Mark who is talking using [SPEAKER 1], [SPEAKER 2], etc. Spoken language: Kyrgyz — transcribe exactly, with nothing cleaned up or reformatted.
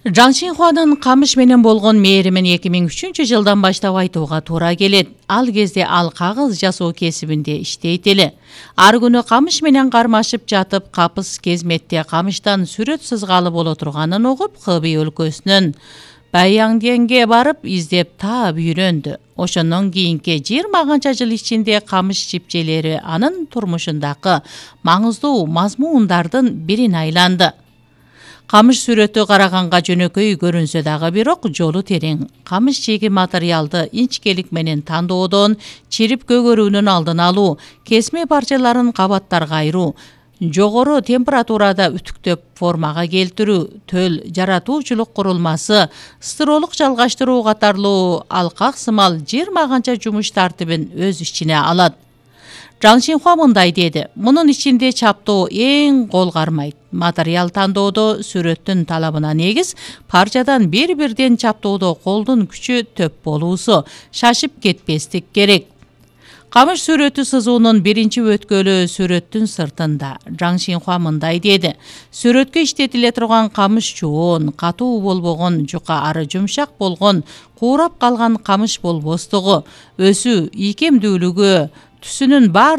[SPEAKER 1] Жан Шинхуанын камыш менен болгон мээримин эки миң үчүнчү жылдан баштап айтууга туура келет. Ал кезде ал кагыз жасоо кесибинде иштейт эле. Ар күнү камыш менен кармашып жатып, капыс кезметте камыштан сүрөт сызгалы боло турганын угуп, Хэби өлкөсүнүн Баянденге барып издеп таап үйрөндү. Ошондон кийинки жыйырма канча жыл ичинде камыш чипчелери анын турмушундагы маңыздуу мазмундардын бирин айланды. Камыш сүрөтү караганга жөнөкөй көрүнсө дагы бирок жолу терең. Камыш чеги материалды инчкелик менен тандоодон, чирип көгөрүүнүн алдын алуу, кесме парчаларын кабаттарга айыруу, жогору температурада үтүктөп формага келтирүү, төл жаратуучулук курулмасы, стыролук жалгаштыруу катарлуу алкак сымал жыйырма канча жумуш тартибин өз ичине алат. Жан Шинхуа мындай деди: мунун ичинде чаптоо эң кол кармайт. Материал тандоодо сүрөттүн талабына негиз парчадан бир-бирден чаптоодо колдун күчү төп болуусу, шашып кетпестик керек. Камыш сүрөтү сызуунун биринчи өткөлү сүрөттүн сыртында. Жан Шинхуа мындай деди: сүрөткө иштетиле турган камыш чуун, катуу болбогон, жука ары жумшак болгон, куурап калган камыш болбостугу, өсүү, ийкемдүүлүгү, түсүнүн бар